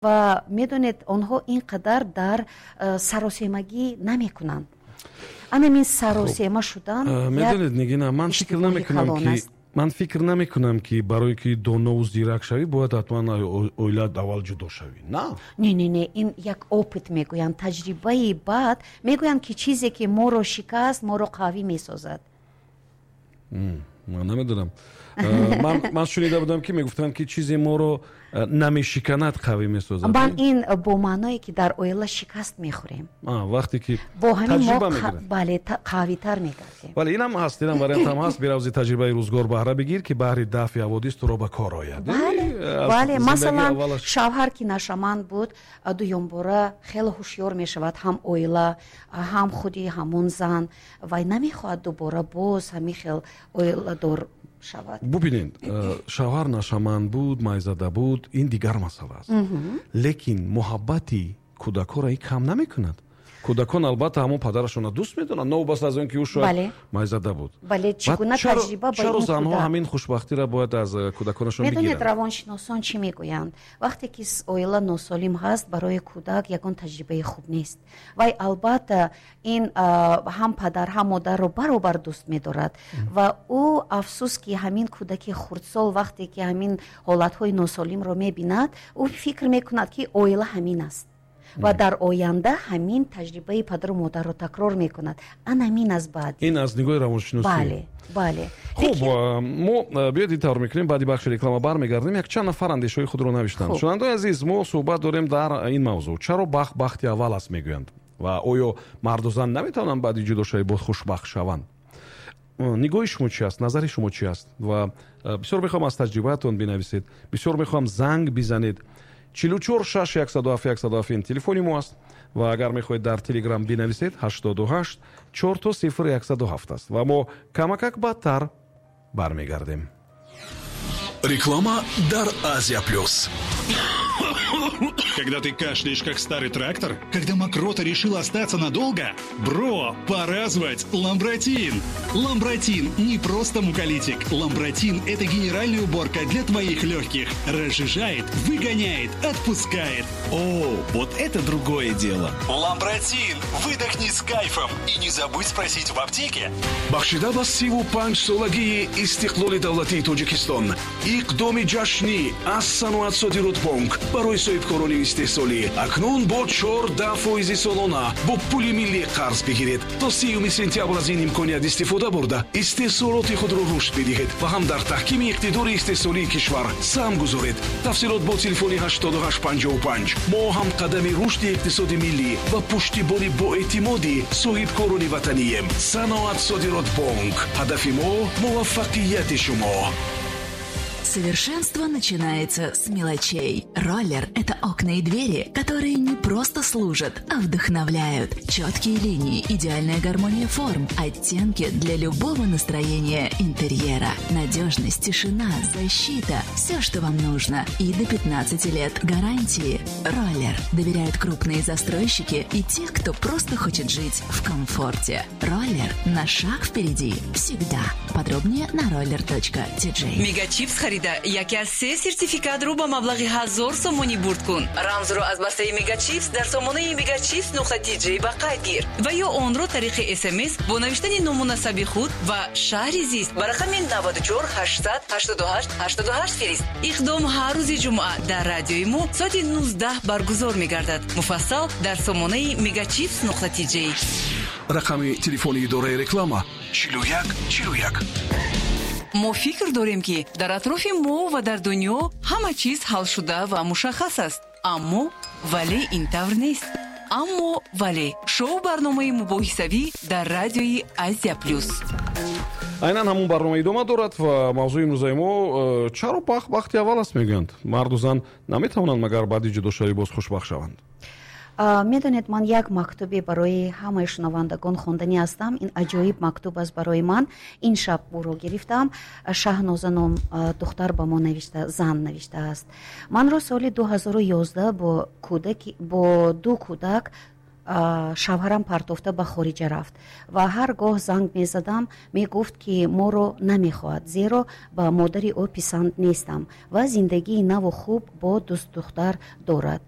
Ва медонед, онҳо ин қадар дар саросемагӣ намекунанд. Анамин саросема шудан. Медонед, Нигина, ман фикр намекунам, ки ман фикр намекунам, ки барое ки донову зирак шавӣ, бояд ҳатман оила аввал ҷудо шавӣ, на? Не, не, не, ин як опыт мегӯянд, таҷрибаи бад мегӯянд, ки чизе ки моро шикаст, моро қавӣ месозад. Ман намедонам, ман шунида будам, ки мегуфтанд, ки чизе моро намешиканад, қавӣ месозад. Ман ин бо маъное, ки дар оила шикаст мехӯрем. Вақте ки бо ҳамин мо, бале, қавитар мегардем. Бале, инам ҳаст, инам вариантам ҳаст. Биравзи таҷрибаи рӯзгор баҳра бигир, ки баҳри дафъи ҳаводис туро ба кор ояд. Бале, масалан, шавҳар ки нашаманд буд, дуюмбора хеле ҳушёр мешавад, ҳам оила, ҳам худи ҳамон зан, вай намехоҳад дубора боз ҳамин хел оиладор шавад. Бубинед, шавҳар нашаманд буд, майзада буд, ин дигар масъала аст, лекин муҳаббати кӯдакҳоро ин кам намекунад. Кӯдакон албатта ҳамон падарашонро дӯст медонанд, новобаста аз он ки ӯ шояд майзада буд. Бале, чӣ гуна таҷриба ба чаро занҳо ҳамин хушбахтиро бояд аз кӯдаконашон бигиранд? Медонед, равоншиносон чӣ мегӯянд? Вақте ки оила носолим ҳаст, барои кӯдак ягон таҷрибаи хуб нест. Вай албатта ин ҳам падар, ҳам модарро баробар дӯст медорад ва ӯ, афсӯс, ки ҳамин кӯдаки хурдсол вақте ки ҳамин ҳолатҳои носолимро мебинад, ӯ фикр мекунад, ки оила ҳамин аст, ва дар оянда ҳамин таҷрибаи падару модарро такрор мекунад. Ана ҳамин аз баъд. Ин аз нигоҳи равоншиносӣ. Бале. Хуб, мо биёед ин тавр мекунем: баъди бахши реклама бармегардем. Якчанд нафар андешаҳои худро навиштанд. Шунавандаои азиз, мо суҳбат дорем дар ин мавзӯъ: чаро бахт бахти аввал аст мегӯянд ва оё марду зан наметавонанд баъди ҷудошавӣ боз хушбахт шаванд? Нигоҳи шумо чи аст, назари шумо чи аст? Ва бисёр мехоҳам аз таҷрибаатон бинависед, бисёр мехоҳам занг бизанед. 44 6 107 107 ин телефони мо аст ва агар мехоҳед дар Телеграм бинависед, 88 4 0 107 аст ва мо камакак баъдтар бармегардем. Реклама дар Азия Плюс. Когда ты кашляешь, как старый трактор? Когда мокрота решила остаться надолго? Бро, пора звать Ламбратин! Ламбратин не просто муколитик. Ламбратин – это генеральная уборка для твоих легких. Разжижает, выгоняет, отпускает. О, вот это другое дело. Ламбратин! Выдохни с кайфом. И не забудь спросить в аптеке. Бахшида ба 35-солагии истиқлоли давлатии Тоҷикистон, иқдоми ҷашнӣ аз Саноат Содиротбонк барои соҳибкорони истеҳсолӣ: акнун бо 14 фоизи солона бо пули миллӣ қарз бигиред. То 30 сентябр аз ин имконият истифода бурда, истеҳсолоти худро рушд бидиҳед ва ҳам дар таҳкими иқтидори истеҳсолии кишвар саҳм гузоред. Тафсилот бо телефони 8855. Мо ҳамқадами рушди иқтисоди миллӣ ва пуштибони боэътимоди соҳибкорони ватанием. Саноат Содиротбонк: ҳадафи мо муваффақияти шумо. Совершенство начинается с мелочей. Роллер – это окна и двери, которые не просто служат, а вдохновляют. Четкие линии, идеальная гармония форм, оттенки для любого настроения интерьера. Надежность, тишина, защита – все, что вам нужно. И до 15 лет гарантии. Роллер. Доверяют крупные застройщики и те, кто просто хочет жить в комфорте. Роллер на шаг впереди. Всегда. Подробнее на roller.tj. Мегачипс харида, яке аз се сертификатро ба маблағи 1000 сомонӣ бурд кун. Рамзро аз бастаи Мегачипс дар сомонаи megachipс.tj ба қайд гир ва ё онро тариқи СМС бо навиштани ному насаби худ ва шаҳри зист ба рақами 94 888 88 фирист. Иқдом ҳар рӯзи ҷумъа дар радиои мо соати 19 баргузор мегардад. Муфассал дар сомонаи megachipс.tj. Рақами телефони идораи реклама: 41 41. Мо фикр дорем, ки дар атрофи мо ва дар дунё ҳама чиз ҳалшуда ва мушаххас аст, аммо вале ин тавр нест. Аммо вале — шоу барномаи мубоҳисавӣ дар радиои Азия Плюс. Айнан ҳамон барнома идома дорад ва мавзӯи имрӯзаи мо: чаро бахт бахти аввал аст мегӯянд? Марду зан наметавонанд магар баъди ҷудошавӣ боз хушбахт шаванд? Медонед, ман як мактубе барои ҳамаи шунавандагон хонданӣ ҳастам. Ин аҷоиб мактуб аст барои ман. Ин шаб ӯро гирифтам. Шаҳноза ном духтар ба мо навишта, зан навиштааст: манро соли 2011 бо ду кӯдак Шавҳарам партофта ба хориҷа рафт ва ҳар гоҳ занг мезадам, мегуфт, ки моро намехоҳад, зеро ба модари ӯ писанд нестам ва зиндагии наву хуб бо дӯстдухтар дорад.